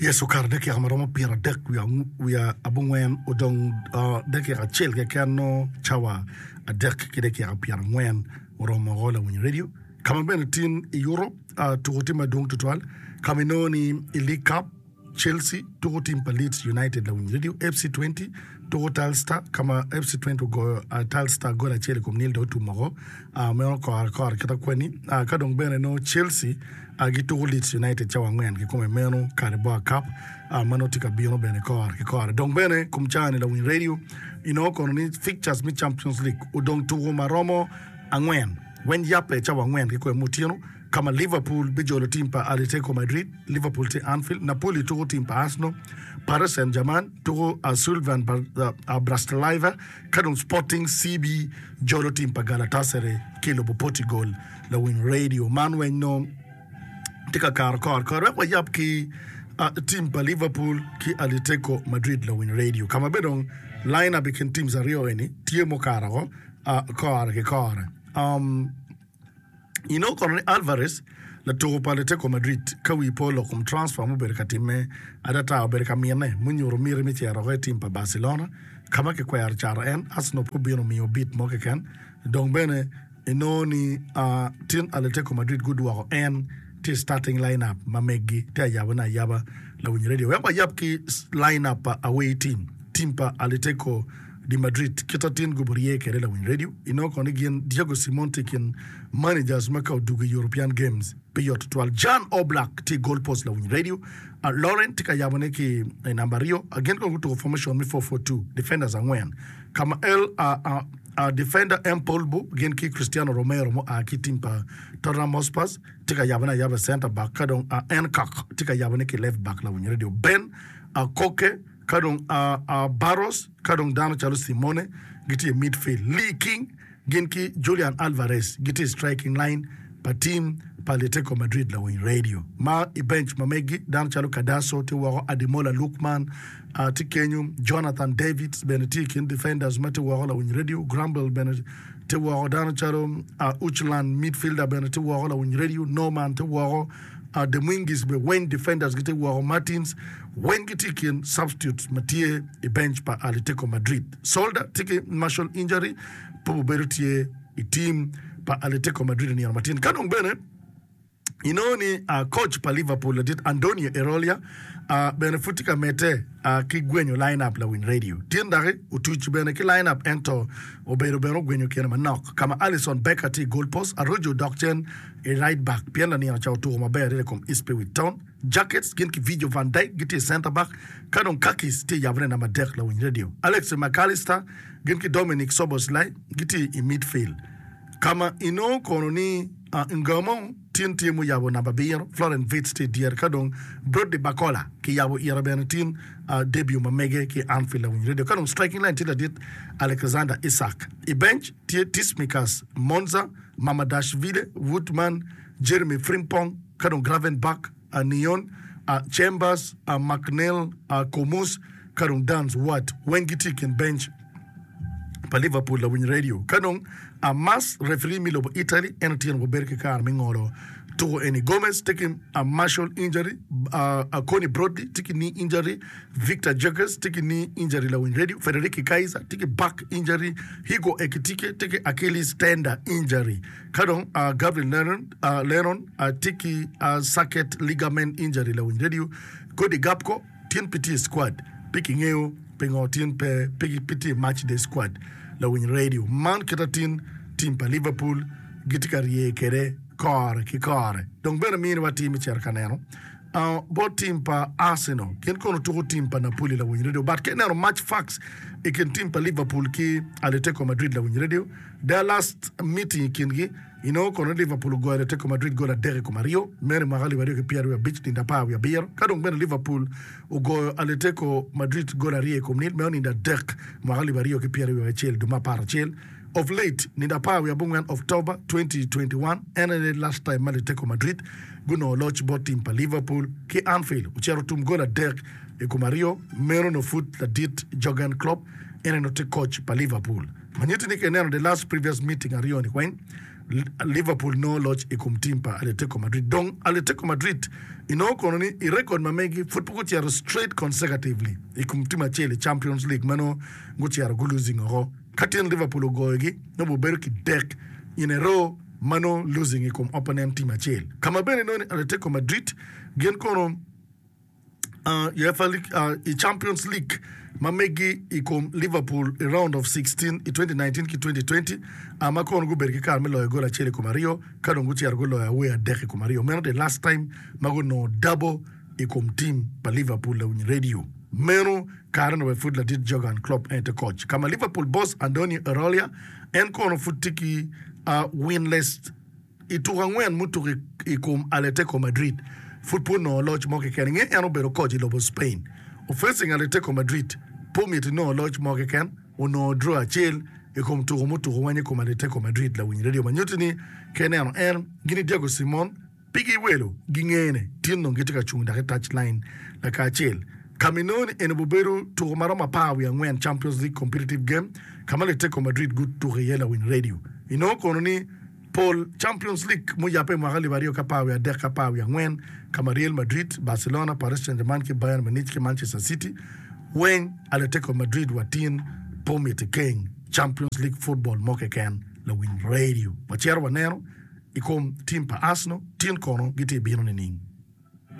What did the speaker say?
Yes, okato dakika ma romo pyeradek wiye abongwen odong dakika acel keken nongo cawa adek ki dakika pyerangwen oromo woko lawiny redio ka ma bene tin i Europe tuko tye madwong tutwal ka ma inongo ni i League Cup Chelsea tuko tim pa Leeds United lawiny redio FC 20 tuko Telstar ka ma FC 20 ogoyo Telstar gol acel i kom nil dong otum woko meno kore kore kita kweni ka dong bene nongo Chelsea gituko Leeds United cawa angwen kikome meno Carabao Cup ma nongo tye ka bino bene kore ki kore dong bene kom cawa ni lawiny radio inongo kono ni fixtures me Champions League odong tuko ma romo angwen weng yabbe cawa angwen kikome ma otyeno ka ma Liverpool bijolo tim pa Atletico Madrid, Liverpool tye Anfield, Napoli tuko tim pa Arsenal, Paris Saint-Germain tuko Slovan Bratislava ka dong Sporting CB jolo tim pa Galatasaray ki i lobo Portugal. Lawiny radio man weng nongo tye ka kato kore kore wek wayab ki tim pa Liverpool ki Atletico Madrid lawiny radio ka ma bene dong line up i kin teams aryo eni tye mukato woko kore ki kore. Inongo kono ni Alvarez, latuko pa Atletico Madrid, ka wi pe olok kom transfer ma obedo ka timme adata obedo ka mine munyuto miti me cito woko i tim pa Barcelona ka ma kikwero cato en. Arsenal pe obino miyo bid mo keken dong bene inongo ni tin Atletico Madrid gudwoko en tye i starting line-up ma meggi tye ayabone ayaba lawiny radio wek wayab ki line-up pa away team, tim pa Atletico di Madrid kit atin gubo rye kwede lawiny radio inongo kono ni gin Diego Simon tye i kin managers ma ka odugo i European Games pe yot tutwal Jan Oblak tye i goal post lawiny radio Lauren tye ka yabone ki i namba aryo gin kono gutuko formation me 4-4-2 defenders angwen ka ma El defender M Polbo gin ki Cristiano Romero mua ki i tim pa Tottenham Hotspurs tye ka yabone ayaba i center back ka dong Nkok tye ka yabone ki left back lawiny radio Ben Koke Ka dong Barros, ka dong dano calo Simone gitye i midfield. Lee King gin ki Julian Alvarez gitye i striking line pa team pa Atletico Madrid lawiny radio. Ma i bench ma megi, dano calo Cardoso tye woko, Ademola Lookman tye kenyo, Jonathan Davids bene tye i kin defenders ma tye woko lawiny radio, Grumble bene tye woko, dano calo Uchland midfielder bene tye woko lawiny radio, Norman tye woko. Dominguez bene weng defenders gitye woko, Martins weng gitye i kin substitutes ma tye i bench pa Atletico Madrid. Solder tye ki muscle injury pe obedo tye i team pa Atletico Madrid i nino matin. Ka dong bene inongo ni coach pa Liverpool ladit Andonio Iraola bene pud tye ka medde ki gwenyo line up lawiny radio. Tin doki otuc bene ki line up ento obedo bene ogwenyo kine manok ka ma Alisson Becker tye i goal post, Araujo dok cen i right back pien lanino ca otuko maber adada i kom Ipswich Town. Jackets gin ki Virgil van Dijk gitye i center back ka dong Kakis tye i yabone namba adek lawiny radio. Alexis Mac Allister gin ki Dominik Szoboszlai gitye i midfield ka ma inongo kono ni Ngamo tin tye muyabo namba abiro, Florent Wirtz tye i dyere ka dong Brodie Barcola kiyabo ire bene tin debut ma mege ki i Anfield lawiny radio ka dong striking line tye ladit Alexander Isak. I bench tye Tsimikas, Monza, Mamardashvili, Woodman, Jeremy Frimpong, ka dong Gravenberch, Neon, Chambers, McNeil, Comus, ka dong Dance Ward weng gitye i kin bench pa Liverpool lawiny radio. Ka dong Mas referee me lobo Italy en otyeno wabedo ki kare me ngolo tuko eni. Gomez tye ki muscle injury, Conny Brodley tye ki knee injury, Victor Jacques tye ki knee injury lawiny radio, Federici Kaiser tye ki back injury, Hugo Ekitike tye ki Achilles tender injury, ka dong Gabriel Lennon tye ki socket ligament injury lawiny radio, Cody Gakpo tin pe tye i squad pe kingeyo pingo tin pe pe tye i match day squad lawiny radio. Man kit atin team pa Liverpool gitye ka rye kwede kore ki kore dong bene miniwa tim me cito ka neno Bot tim pa Arsenal, gin kono tuko tim pa Napoli lawiny radio. But ka ineno match facts i kin tim pa Liverpool ki Atletico Madrid lawiny radio, their last meeting i kingi, inongo kono ni Liverpool ogoyo Atletico Madrid gol adek i kom aryo, meno i mwaka alip aryo ki pyeraryo abic nindo apar wiye abiro. Ka dong bene Liverpool ogoyo Atletico Madrid gol aryo i kom nil, meno nindo adek mwaka alip aryo ki pyeraryo acel dwe me apar acel. Of late, nindo apar wiye abongwen October 2021, en aye last time ma Atletico Madrid gunongo loc bot tim pa Liverpool ki Anfield ocito tum gol adek i kom aryo, meno onongo pud ladit Jurgen Klopp en aye onongo tye coach pa Liverpool. Ma nyutti ni ka ineno the last previous meeting aryo ni weng. Liverpool nongo loc i kom tim pa Atletico Madrid. Dong Atletico Madrid inongo kono ni i rekod ma megi pud pe gucito straight consecutively i kom tim acel i Champions League ma nongo gucito gu losing oko. Ka tin Liverpool ogoyogi nongo obedo ki dek in a row ma nongo losing i kom opponent team acel. Ka ma bene inongo ni Atletico Madrid gin kono UEFA League, i Champions League ma megi i kom Liverpool i round of 16 i 2019 ki 2020 ma kono gubedo ki kare me loyo gol acel i kom aryo ka dong gucito guloyo away adek i kom aryo. Meno the last time ma gunongo double i kom team pa Liverpool lawiny radio. Meno kare onongo pud ladit Jurgen Klopp en te coach ka ma Liverpool boss Andoni Iraola en kono pud tye ki winless I tuko angwen mutuko i kom Atletico Madrid, pud pe onongo loc mo keken. I nge en obedo koc i lobo Spain, ofacing Atletico Madrid pe omito inongo loc mo keken, onongo draw acel i kom tuko mutuko weng i kom Atletico Madrid. Lawiny radio ma nyutti ni ka ineno en gin i Diego Simon pi giwelo gingene tin dong gitye ka cung dok i touch line lakacel. Ka ma inongo ni eni obedo tuko ma romo 14 Champions League competitive game ka ma Atletico Madrid gutuko iye lawiny radio inongo kono ni Pol Champions League muyabbe i mwaka 2013-14 ka ma Real Madrid, Barcelona, Paris Saint-Germain ki Bayern Munich ki Manchester City weng Atletico Madrid wa tin pe omiti keng Champions League football mo keken lawiny radio. Wacito waneno i kom team pa Arsenal tin kono gitye bino nining?